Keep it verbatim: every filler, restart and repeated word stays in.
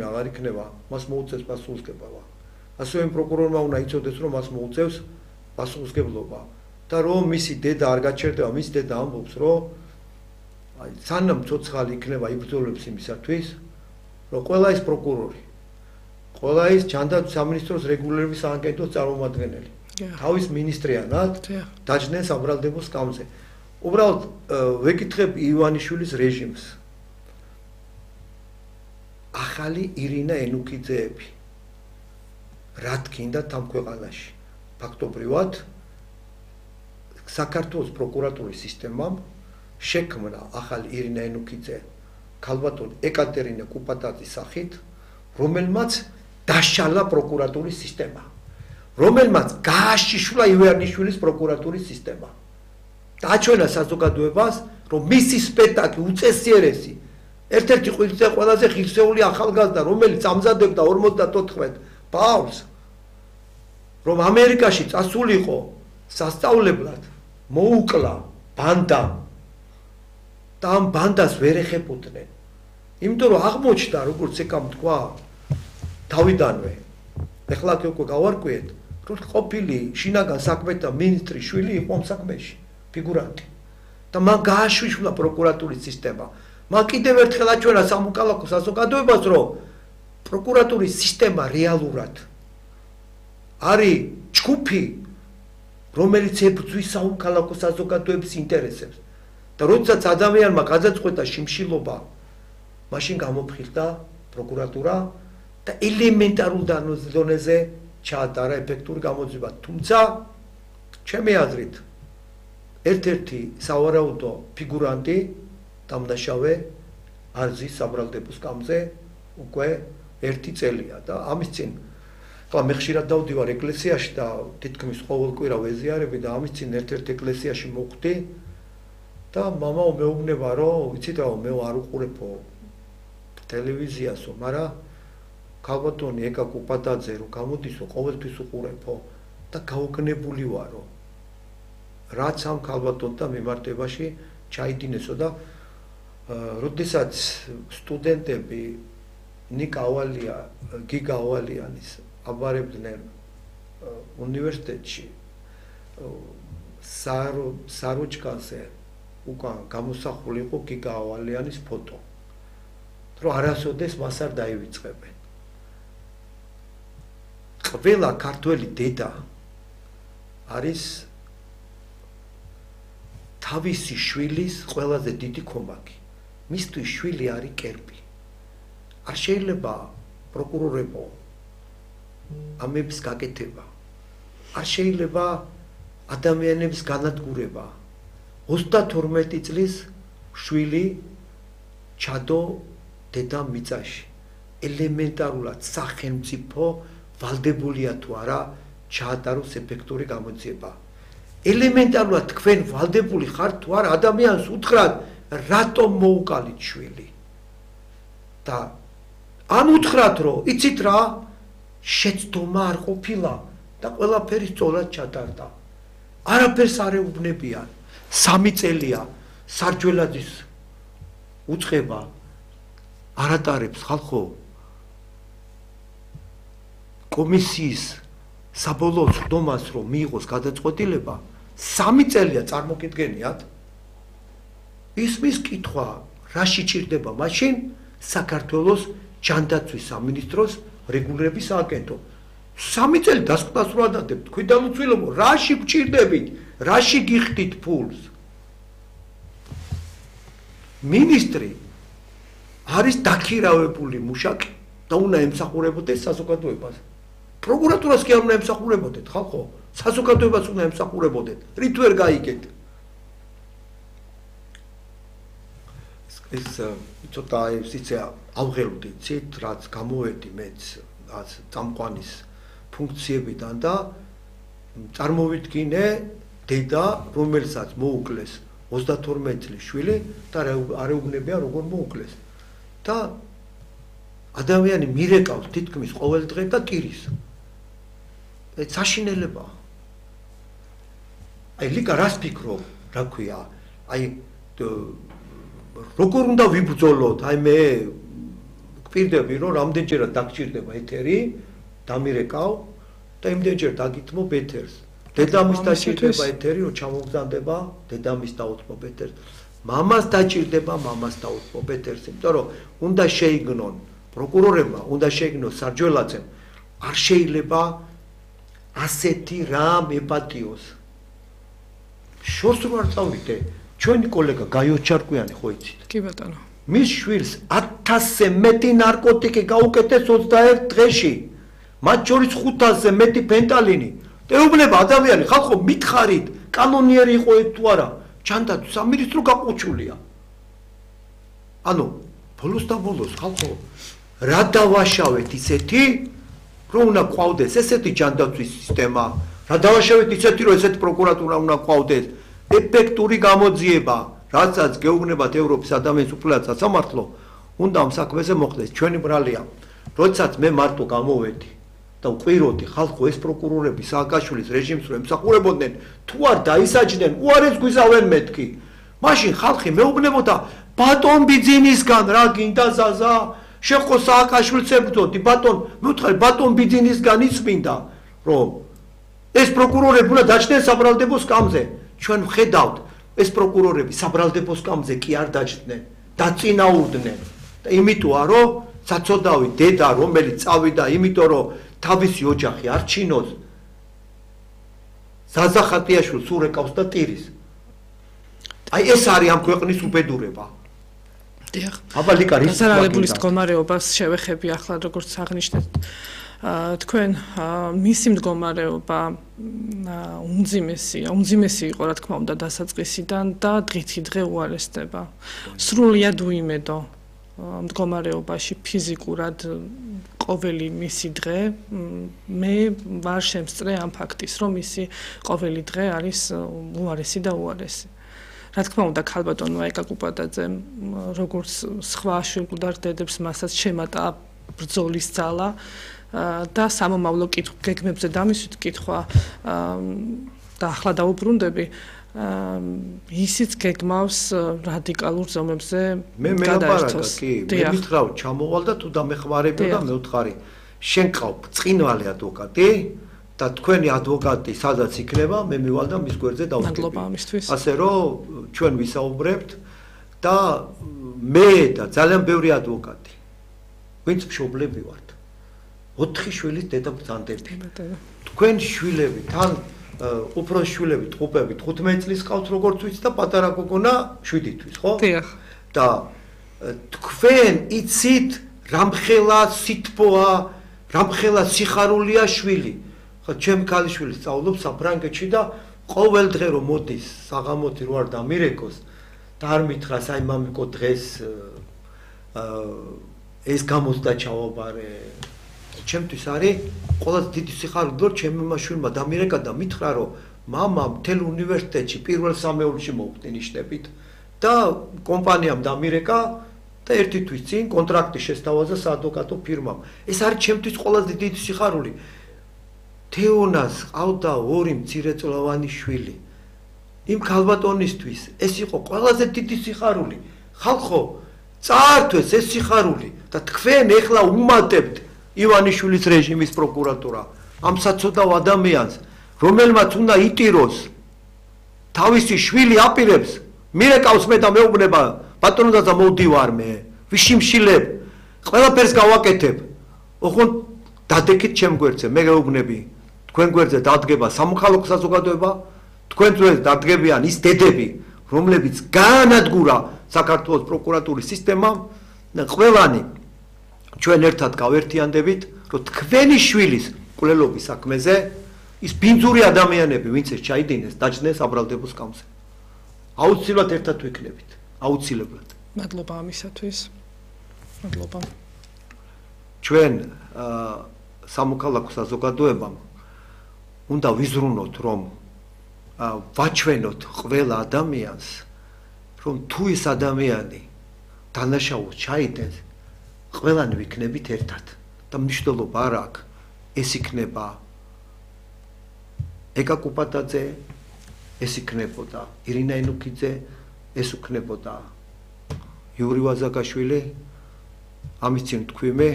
აღარ იქნება, მას მოუწევს პასუხისმგებლობა. ასევე პროკურორმა უნდა იცოდეს, რომ მას მოუწევს პასუხისმგებლობა და რომ მისი დედა არ გაჩერდება, მის დედა ამბობს, რომ აი სანამ ცოცხალი იქნება იბრძოლებს იმისათვის, რომ ყველა ის პროკურორი, ყველა ის ჯანდაცვის სამინისტროს რეგულირების სააგენტოს წარმომადგენელი, თავის მინისტრიანად დაჯდნენ საბრალდებო სკამზე. უბრალოდ ვეკითხებ ივანიშვილის რეჟიმს. ახალი ირინა ენუქიძეები რა თქინდათ ამ ქვეყანაში ფაქტობრივად საქართველოს პროკურატურის სისტემამ შექმნა ახალი ირინა ენუქიძე ქალბატონი ეკატერინე კუპატაძის სახით რომელმაც დაშალა პროკურატურის სისტემა რომელმაც გააშიშვლა ივანიშვილის პროკურატურის სისტემა დააჩვენა საზოგადოებას რომ მისი სპექტაკლი უწესიერესი ერთ-ერთი ყველაზე ღირსეული ახალგაზრდა, რომელიც ამზადებდა ორმოცდათოთხმეტ ბავშვს, რომ ამერიკაში წასულიყო სასწავლებლად, მოუკლა ბანდამ და ამ ბანდას ვერ ეხებოდნენ. იმიტომ რომ აღმოჩნდა, როგორც ეკამ თქვა, თავიდანვე, ეხლა უკვე გავარკვიეთ, რომ ყოფილი შინაგან საქმეთა მინისტრის შვილი იყო ამ საქმეში, ფიგურანტი. და მან გააშიშვლა პროკურატურის სისტემა. მან კიდევ ერთხელ აჩვენა სამოქალაქო საზოგადოებას, რომ პროკურატურის სისტემა რეალურად არის ჯგუფი, რომელიც ებრძვის სამოქალაქო საზოგადოების ინტერესებს. და როდესაც ადამიანმა გადაწყვეტა შიმშილობა, მაშინ გამოფხიზდა პროკურატურა და ელემენტარულ დონეზე ჩაატარა ეფექტური გამოძიება. თუმცა, ჩემი აზრით, ერთ-ერთი სავარაუდო ფიგურანტი დამნაშავე არზის საბრალდებო სკამზე უკვე ერთი წელია და ამის წინ ხლა მე ხშირად დავდივარ ეკლესიაში და თითქმის ყოველ კვირა ვეზიარები და ამის წინ ერთ-ერთ ეკლესიაში მოვხვდი და მამაო მეუბნება რომ იცით რა მე არ უყურებო ტელევიზიასო მაგრამ ქალბატონი ეკა კუპატაძე რომ გამოდისო ყოველთვის უყურებო და გაოგნებული ვარო რაც ამ ქალბატონთან მიმართებაში ჩაიდინესო და როდესაც სტუდენტები ნიკა ავალია, გიგა ავალიანის აბარებდნენ უნივერსიტეტში საროჭკაზე უკან გამოსახული იყო გიგა ავალიანის ფოტო. რომ არასოდეს მას არ დაივიწყებენ. ყველა ქართველი დედა არის თავისი შვილის ყველაზე დიდი კომაკი. მისთვის შვილი არის კერპი. არ შეიძლება პროკურორებო ამების გაკეთება. არ შეიძლება ადამიანების განადგურება. ოცდათორმეტი წლის შვილი ჩადო დედა მიწაში. ელემენტარულად სახელმწიფო ვალდებულია თუ არა ჩაატაროს ეფექტური გამოძიება. ელემენტარულად თქვენ ვალდებული ხართ თუ არა ადამიანს უთხრათ რატომ მოუკალით შვილი და ამ უთხრათ რომ იცით რა შეცდომა არ ყოფილა და ყველაფერი სწორად ჩატარდა არაფერს არ ეუბნებიან სამი წელია სარჯველაძის უწყება არ ატარებს ხალხო კომისიის საბოლოო სხდომას რომ მიიღოს გადაწყვეტილება სამი წელია წარმოგიდგენიათ ისმის კითხვა რაში ჭირდება მაშინ საქართველოს ჯანდაცვის სამინისტროს რეგულირების სააგენტო სამი წელი დასკვნასრულადადებთ თქვი დამუცვილებო რაში გჭირდებით რაში გიხდით ფულს მინისტრი არის დაქირავებული მუშაკი და უნდა ემსახურებოდეს საზოგადოებას პროკურატურას კი არ უნდა ემსახურებოდეთ ხალხო საზოგადოებას უნდა ემსახურებოდეთ რით ვერ გაიგეთ ეს ცოტა ისე ავღელვდი ცით რაც გამოვედი მეც რაც წამყვანის ფუნქციებიდან და წარმოვიდგინე დედა რომელსაც მოუკლეს ოცდათორმეტი წლის შვილი და არ ეუბნებია როგორ მოუკლეს და ადამიანი მირეკავს თითქმის ყოველ დღე და ტირის ეს საშინელება აი ლიკა რას ფიქრობ რა ქვია აი როგორ უნდა ვიბრძოლოთ აი მე გვპირდები რომ რამდენჯერად დაგჭირდება ეთერი დამირეკავ და იმდენჯერ დაგითმობ ეთერს დედამის დაჭირდება ეთერი რომ ჩამოგზანდება დედამის დაუთმობ ეთერს მამას დაჭირდება მამას დაუთმობ ეთერს იმიტომ რომ უნდა შეიგნონ პროკურორებმა უნდა შეიგნოს სარჯველაძემ არ შეიძლება ასეთი რამ ეპატიოს შორს რო არ წავიდე ჩვენი კოლეგა გაიო ჩარკვიანი ხო იცით კი ბატონო მის შვილს ათასზე მეტი ნარკოტიკი გაუკეთეს ოცდაერთ დღეში მათ შორის ხუთასზე მეტი ფენტალინი ეუბნება ადამიანი ხალხო მითხარით კანონიერი იყო თუ არა ჩანდა სამინისტრო გაყუჩულია ანუ ბოლოს და ბოლოს ხალხო რა დავაშავეთ ისეთი რომ უნდა ყავდეს ესეთი ჯანდაცვის სისტემა რა დავაშავეთ ისეთი რომ ესეთი პროკურატურა უნდა ყავდეს ეფექტური გამოძიება რასაც გეუბნებათ ევროპის ადამიანის უფლებათა სასამართლო უნდა ამ საქმეზე მოხდეს ჩვენი ბრალია როდესაც მე მარტო გამოვედი და ვყვიროდი ხალხო ეს პროკურორები სააკაშვილის რეჟიმს რომ ემსახურებოდნენ თუ არ დაისაჯდნენ უარეს გვიზავენ მეთქი მაშინ ხალხი მეუბნებოდა ბატონ ბიძინისგან რა გინდა ზაზა შეხო სააკაშვილს ებრძოდი ბატონ მევთხარი ბატონ ბიძინისგან იცმინდა რომ ეს პროკურორები უნდა დაჭდნენ საბრალდებო სკამზე ჩვენ ვხედავთ ეს პროკურორები საბრალდებო სკამზე კი არ დაჭდნენ დაწინაურდნენ და იმიტოა რომ საწოდავი დედა რომელიც წავიდა იმიტომ რომ თავისი ოჯახი არ ჩინოს ზაზა ხატიაშვილს ურეკავს და ტირის აი ეს არის ამ ქვეყნის უბედურება დიახ აბა ლიკარი გასარალებულის მდგომარეობას შევეხები ახლა როგორც აღნიშნეთ თქვენ მისი მდგომარეობა უმძიმესია უმძიმესი იყო რა თქმა უნდა დასაწყისიდან და დღითი დღე უარესდება სრულიად უიმედო მდგომარეობაში ფიზიკურად ყოველი მისი დღე მე ვარ შემსწრე ამ ფაქტის რომ მისი ყოველი დღე არის უარესი და უარესი რა თქმა უნდა ქალბატონმა ეკაკუპატაძემ როგორც სხვა შვილგუდარ დედებს მასაც შემატა ბრძოლის ძალა და სამომავლო გეგმებზე დამისვით კითხვა და ახლა დაუბრუნდები ისიც გეგმავს რადიკალურ ზომებზე გადაერთოს. კი, მე მითხრავ, ჩამოვალ და თუ დამეხმარებო და მე ვთხარი, შენ ყავ წინვალი ადვოკატი და თქვენი ადვოკატი სადაც იქნება, მე მივალ და მის გვერდზე დავსკები. მადლობა ამისთვის. ასე რომ ჩვენ ვისაუბრებთ და მე და ძალიან ბევრი ადვოკატი, ვინც მშობლები ვართ. ოთხი შვილის დედა ბრძანდები. თქვენ შვილები თან უფრო შვილები ტყუპები თხუთმეტი წლის ყავთ როგორც ვიცი და პატარა გოგონა შვიდი თვის, ხო? დიახ. და თქვენ იცით რამხელა სითბოა, რამხელა სიხარულია შვილი. ხო, ჩემი ქალიშვილი სწავლობს საფრანგეთში და ყოველ დღე რომ მოდის საღამოთი რო არ დამირეკოს და არ მითხრას აი მამიკო დღეს ეს გამოცდა ჩავაბარე ჩემთვის არის ყველაზე დიდი სიხარული რომ ჩემი მაშვილმა დამირეკა და მითხრა რომ მამა მთელ უნივერსიტეტში პირველ სამეულში მოვხდი ნიშნებით და კომპანიამ დამირეკა და ერთი თვის წინ კონტრაქტი შესთავაზა საადვოკატო ფირმამ. ეს არის ჩემთვის ყველაზე დიდი სიხარული. თეონას ყავდა ორი მცირეწლოვანი შვილი. იმ ქალბატონისთვის ეს იყო ყველაზე დიდი სიხარული. ხალხო, წაართვეს ეს სიხარული და თქვენ ეხლა უმატებთ ივანიშვილის რეჟიმის პროკურატურა ამ საცოდავ ადამიანს, რომელმაც უნდა იტიროს თავისი შვილი აპირებს, მირეკავს მე და მეუბნება, ბატონო დედა მოვდივარ მე, ვიშიმშილებ, ყველაფერს გავაკეთებ. ოღონდ დადეკით ჩემ გვერდზე, მე გეუბნები, თქვენ გვერდზე დადგება სამოქალაქო საზოგადოება, თქვენ გვერდზე დადგებიან ის დედები, რომლებიც გაანადგურა საქართველოს პროკურატურის სისტემამ და ყველანი ჩვენ ერთად გავერთიანდებით, რომ თქვენი შვილის მკვლელობის საქმეზე ის ბინძური ადამიანები, ვინც ეს ჩაიდინეს, დაჭდნენ საბრალდებო სკამზე. აუცილებლად ერთად ვიქნებით, აუცილებლად. მადლობა ამისათვის. მადლობა. ჩვენ სამოქალაქო საზოგადოებამ უნდა ვიზრუნოთ, რომ ვაჩვენოთ ყველა ადამიანს, რომ თუ ის ადამიანი დანაშაულს ჩაიდენს, ყველანი ვიქნებით ერთად და მნიშვნელობა არ აქვს ეს იქნება ეკა კუპატაძე, ეს იქნებოდა ირინა ენუქიძე, ეს იქნებოდა იური ვაზაგაშვილი ამის წინ თქვი მე